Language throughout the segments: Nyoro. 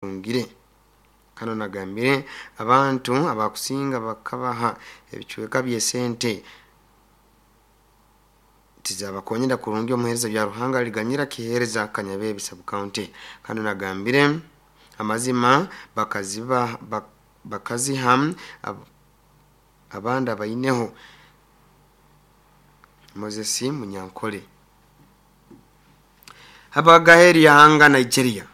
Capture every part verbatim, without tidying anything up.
Batungire kano nagambire abantu abakusinga bakabaha ebicweka by'esente tizabakonyera kurungi. Omuhereza Byaruhanga aliganyira kihereza Kanyabebi sub-county. Kano nagambire amazima bakaziba bakaziha abandi abaineho Moses Munyankole Habagaheri yahanga Nigeria.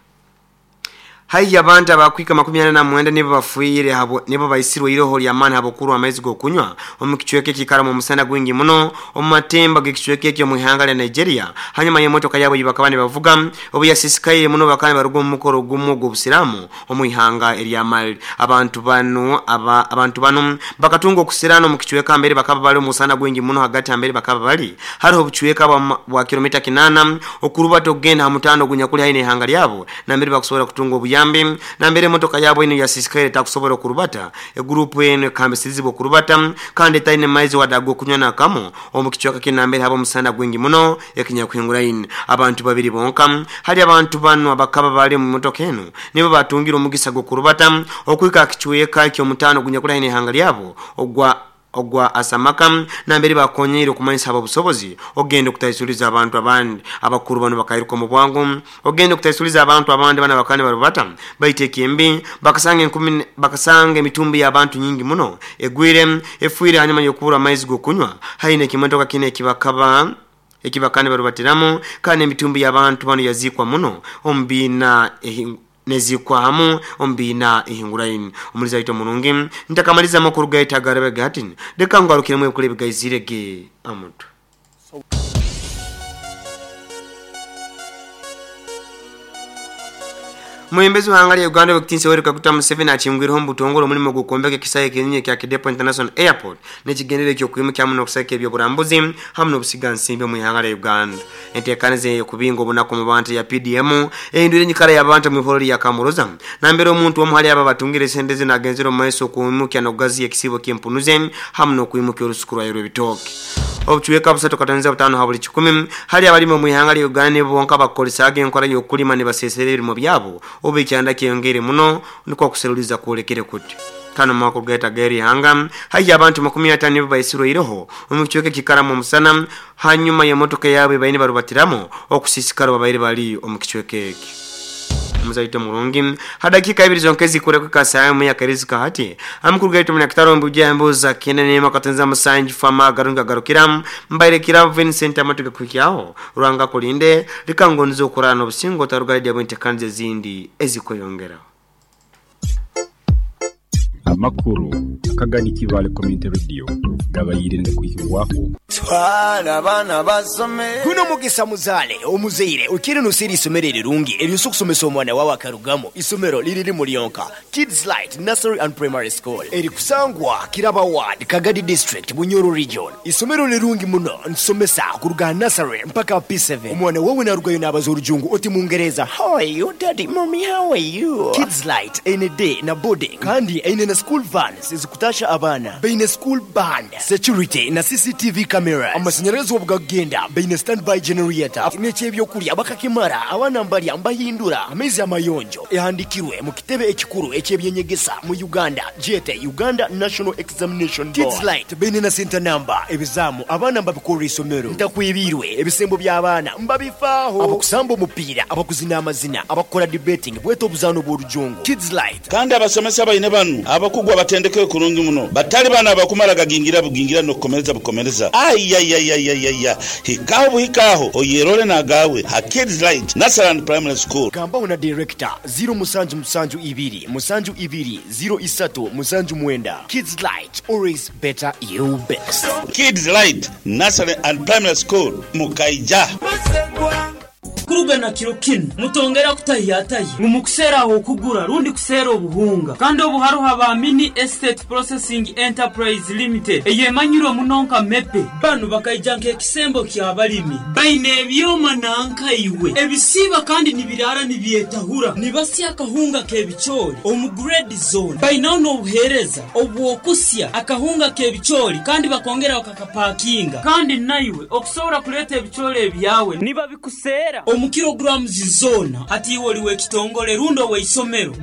Haihi abantu abakwika makumi ana na mwenda nibo bafuire habo nibo baisirwe iroho lya maani habokuru amaizi gokunywa omu kicweka ekikaramu omusana gwingi muno omu matemba g'ekicweka ekyo mu ihanga lya Nigeria. Hanyuma y'emotoka yabo bakaba nibavuga obu yasisikaire muno bakaba nibaruga omu mukoro gumu ogw'obusiraamu omu ihanga erya Mali. Abantu banu aba, abantu banu bakatunga okusirana omu kicweka mbere bakaba bali omusana gwingi muno hagati ambere bakaba bali hariho obucweka bwa, bwa kilomita kinana okurubata okugenda ha mutano ogunyakuli haihi n'ihanga lyabo nambere bakusobora kutunga obuyambi nambere emotoka yabo eno yasisikaire takusobora okurubata. Egurupu eno ekambisirizibwa okurubata kandi etaine maizi wadde ag'okunywa nakamu omu kicweka kinu nambere haba omusana gwingi muno ekinyakuhinguraine. Abantu babiri bonka hali abantu banu abakaba bali omu motoka eno nibo batungire omugisa gw'okurubata okwika kicweka eky'omutano ogunyakuli haihi n'ihanga lyabo ogwa ogwa asamaka nambere bakonyere okumanyisa abo obusobozi ogenda okutaisuliza abantu abandi. Abakuru bano bakairuka mu bwangu ogenda okutaisuliza abantu abandi bana bakane barubata baiteka embi bakasanga enkumi bakasanga emitumbi y'abantu nyingi muno egwire efuire hanyuma y'okubura amaizi g'okunywa haine ekimotoka kine ekibakaba ekibakane barubatiramu kandi emitumbi y'abantu bano yazikwa muno omu biina nezikwa hamu ombina ihinguraini. Omuliza ito murungi ntakamaliza amakuru gaita agarabe gati leka ngarukiremu ebikuru ebigaizirege amuntu. Mwembezi wa hanga lya Uganda wekutinsa Yoweri Kaguta Museveni achingwireho mu butongole omulimo gw'okwombeka ekisaawe ekinene kya Kidepo International Airport n'ekigendererwa eky'okwimuka hamu n'okusaka eby'oburambuzi hamu n'obusiga nsimbi omu ihanga lya Uganda. Enteekaniza ey'okubinga obunaku mu bantu ya P D M ehindwire enyikara y'abantu mu ihoro lya Kamuroza nambere omuntu omu hali aba batungire esente zino agenzire omu maiso okwimuka n'okugaziya ekisibo ky'empunuze hamu n'okwimuka orusuku rwayo rw'ebitooke. Obucweka busatu katonza butano ha buli kikumi hali abalimi omu ihanga lya Uganda nibo bonka bakukoresaaga enkora y'okulima nibasesera ebirimo byabo obu ekyanda kyeyongeire muno nikwo okuseruliza kwolekere kuti. Kano makuru gaita geri hanga haihi abantu makumi atano nibo baisirweireho omu kicweka ekikaramu omusana hanyuma y'emotoka yabo baine barubatiramu okusisikara babaire bali omu kicweka eki. Muzaito murungi hadakika ibiri zonke zikureko kasamu ya karizika hati amukuru gaitu munakitaro mbuja mbuza kinene makatenza musanji fama garunga garukira mbaire kira Vincent amatuka kukiaho rwanga kulinde likangonzo kurana obusingo tarugaidi abwentekanze zindi ezikoyongera. Amakuru akagani Kibale Community Radio gabayire ndikuhiwako twala abana basome kuno mugisa muzale omuzeire ukiri nusiri isomero rirungi eryo kusomesa omwana wawe akarugamo isomero liriri mulionka Kids Light Nursery and Primary School eri kusangwa Kiraba Ward Kagadi District Bunyoro Region. Isomero lirungi muno nsomesa kuruga nursery mpaka P seven. Omwana wawe narugayo n'abaza orujungu oti mungereza how are you daddy mommy how are you. Kids Light ene day na boarding kandi ene na school vans ezikutasha abana baine school band security na C C T V cameras amashanyarazi obugagenda baine standby generator n'ekyebyokulya bakakimara abana mbalya mbahindura amaizi amayonjo ehandikirwe mu kitebe ekikuru ekyebyenyegesa mu Uganda jete Uganda National Examination Board. Kids Light baine na center number ebizamu abana mbabikora isomero ntakwibirwe ebisembo by'abaana mbabifaaho abakusamba omupiira abakuzina amazina abakora debating bweto obuzano bw'orujungu Kids Light. Kandi abasomesa baine banu abakugwa batendeke kurungi muno batali bana abakumara gagingira bugingira no kukomereza bukomereza ayayayayaya hikaho buhikaho oyerole nagawe ha Kids Light Nursery and Primary School. Gamba na director zero musanju musanju ibiri musanju ibiri zero isatu musanju mwenda. Kids Light, always better you best. Kids Light Nursery and Primary School Mukaija. Kuruga na kiro kino mutongera kutahiyatayi mumukusera aho kugura rundi kusera obuhunga kandi obuharuha ba Mini Estate Processing Enterprise Limited eyemanyirwe munonka mepe banu bakaija nk'ekisembo ky'abalimi baine ebyoma nankaiwe ebisiba kandi nibirara nibyetahura nibasya akahunga k'ebicoori omu grade zone bainaho n'obuheereza obwokusya akahunga k'ebicoori kandi bakongera bakakapakinga kandi naiwe okusobora kuleeta ebicoori ebyawe niba bikusera omu Omu kilograms zoona, hati iwe oli w'ekitongole rundi ow'eisomero.